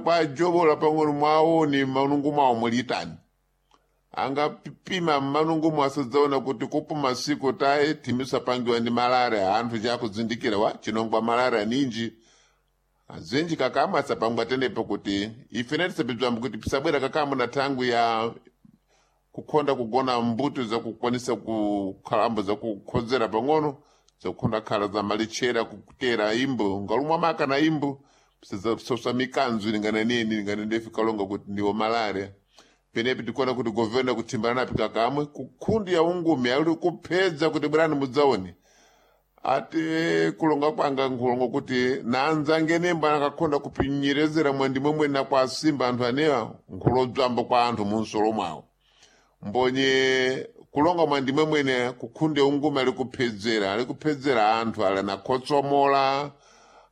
Kwajobola pang'ono mwaoni manungu mwawo mulitani angapima mmanungu mwasadzaona kuti kupo masiku taye timisapangiwa ndi malaria anthu chakuzindikira wa chinongwa malaria ninji azinji kakamwe asapangwa tenepo kuti ife tisapibzambo kuti pisabwera kakamwe na thangwi ya kukhonda kugona mbuto zakukwanisa kukhalambo zakukhodzera pang'ono zakukhonda khala za malitchera kutera imbo ngalumwa maka na imbo sosa mikanzo ilingana neni ilingana ndefe kalonga kuti ndiwo malaria. Penepi tikuona kuti governor kuthimbana napi kakamwe kukhundi ya ungumi ali kuphedza kuti bwerani mudzaone ati kulonga kwanga nkhulongo kuti nanzange nembo anakakhonda kupinyerezera mwandimwe mwene kwa asimba anthu anewa nkhulodzwambo kwa anthu munsolo mwawo mbonye kulonga mwandimwe mwene kukhunde ungumi ali kuphedzera ali kuphedzera anthu ali anakhotsomola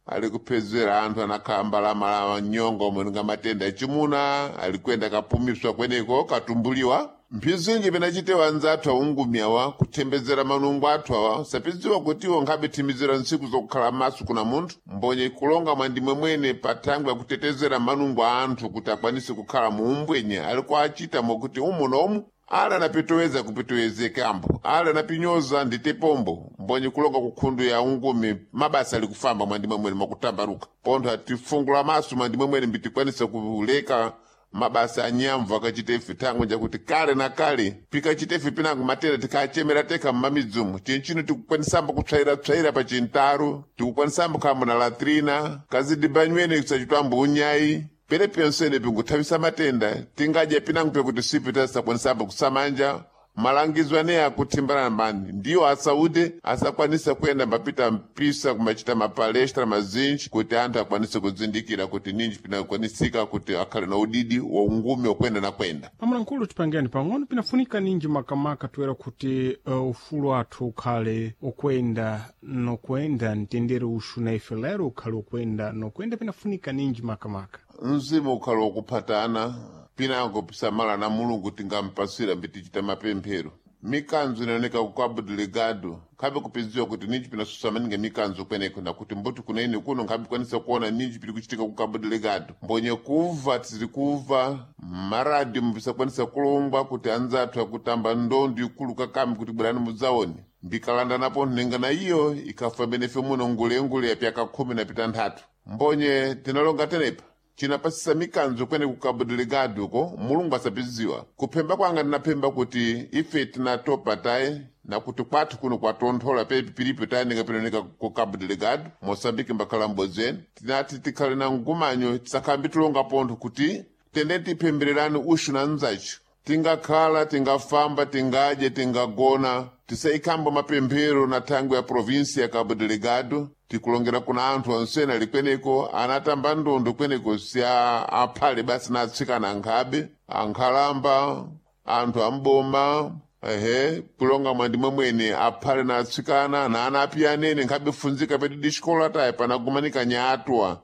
ali kuphedzera anthu anakhambalamala nyonga omwe matenda achimuna ali kuyenda kapumiswa kweneko katumbuliwa. Mphizinji pinachitewa anzathu aungumi awa kuthembedzera manungo athu awa sapidziwa kuti iwo nkhabe thimizira ntsiku zokukhala maso kuna munthu mbonye kulonga mwandimwe mwene pa thangwi akutetezera manungo a anthu kuti akwanise kukhala muumbwenye ali kuachita mokuti umu nomu ali anapitoweza kupitowezeka ali anapinyoza ndite pombo mbonye kulonga kukhundu ya ungumi mabasa ali kufamba mwandimwe mwene mwakutambaruka pontho atifungula maso mwandimwe mwene mbitikwanisa kuleka mabasa anyamvu akachitefe thangwi njakuti kale na kale pikachitefe pinango matenda tikachemera teka mmamidzumu chinchino tikukwanisambo kutsvaira-tsvaira pa chintaro tikukwanisambo khambo na latrina kazidibanyweni kusachitwambo unyayi pene pensene pinguthavisa matenda tingadya pinango pekuti sipi tasakwanisamba kusamanja malangizo aneya akuthimbana mani ndiwo asaude asakwanisa kuyenda mbapita mpisa kumachita mapalestra mazinji kuti anthu akwanise kuzindikira kuti ninji pinakwanisika kuti akhale na udidi wa ungumi wakwenda na kwenda. Pamulankhulu tipangeni pang'ono pinafunika ninji makamaka toera kuti ufulu athu ukhale ukwenda nokwenda mtendere uxu na ife lero ukhale ukwenda nokwenda pinafunika ninji makamaka. Mzimu ukhale wakuphatana pinango pisamala na Mulungu tingampasira mbitichita mapemphero mikanzo inaoneka ku Cabo Delgado nkhabe kupidziwa kuti ninji pinasusa maningi mikanzo kweneko nakuti mbuti kunaine kuno nkhabe kwanisa kuona ninji piri kuchitika ku Cabo Delgado mbonye kuva tiri kuva maradio mpisakwanisa kulongwa kuti anzathu akutamba ndondo ikulu kakami kuti bwerani mudzaone mbikalanda napo nhenga na iyo ikafa benefe muno ngulengule ya pyaka 13 mbonye tinalonga tenepa chinapasisa mikanzo kwene ku Cabo Delgado ko Mulungu asapidziwa kuphemba kwanga ndinaphemba kuti ife tinatopa taye nakuti kwathu kuno kwatonthola pepi pilipo taye ningapinooneka ku Cabo Delgado Moçambique mbakhala m'bodzi tinati tikhale na mgumanyo tisakhambi tilonga pontho kuti tende tiphembererani uxu na mzaci tingakhala tingafamba tingadye tingagona tisaikhamba mapemphero na thangwi ya provinsi ya Cabo Delgado tikulongera kuna anthu ansena ali kweneko anatamba ndondo kweneko si aphale basi na atsikana ankhabe ankhalamba anthu amboma ehe kulonga mwandimwe mwene aphale na atsikana na ana api anene nkhabe funzika pedi dixikola tayi panagumanika nyatwa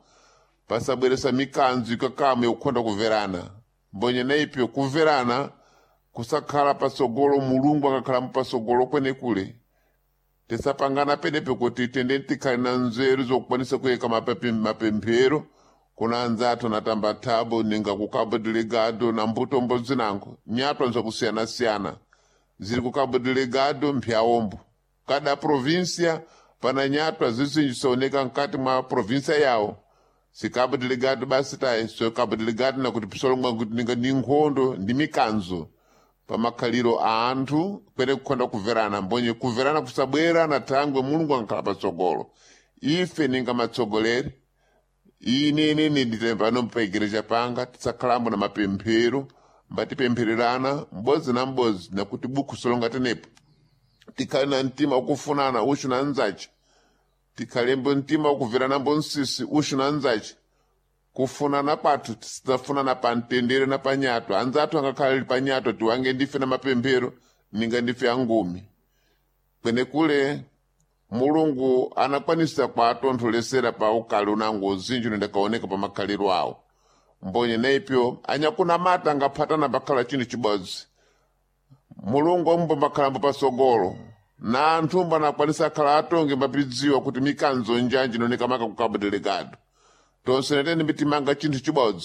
pasabweresa mikanzo ikakame yokukhonda kuverana mbonye naipyo kuverana kusakhala pasogolo Mulungu akakhala pasogolo kwenekule tisapangana penepe kuti tende tikhale na nzeru zokukwanisa kuyika mapemphero kuna anzathu anatamba thabo ninga ku Cabo Delgado na mbutombo zinango nyatwa nzakusiyana-siyana ziri ku Cabo Delgado mphyawombo kada província pana nyatwa zizinji sooneka mkati mwa província yawo si Cabo Delgado basi tayi so Cabo Delgado nakuti pisolongwa kuti ninga ndi nkhondo ndi mikanzo pamakhaliro a anthu kwene kukhonda kuverana mbonye kuverana kusabwera na thangwe Mulungu ankhala patsogolo ife ninga matsogoleri inenene ndite pano pa igreja panga tisakhalambo na mapemphero mbatipemphererana m'bodzi na m'bodzi nakuti buku solonga tenepo tikhale na mtima wakufunana uxu na mzaci tikhalembo mtima wakuveranambo nsisi uxu na mzaci kufunana kwathu tisafunana pa mtendere na panyato anzathu angakhala li panyato tiwange ndife na mapemphero ninga ndife angumi kwenekule Mulungu anakwanisa kwatontholesera pa ukali unango uzinji unendakaoneka pa makhaliro awo mbonye naipyo anyakunamata angaphatana pakhala chinthu chibodzi Mulungu amumba makhalambo pasogolo na anthu mbanakwanisa akhala atonge mbapidziwa kuti mikanzo njanji inooneka maka ku Cabo Delgado tonse netene mitimanga chinthu chibodzi.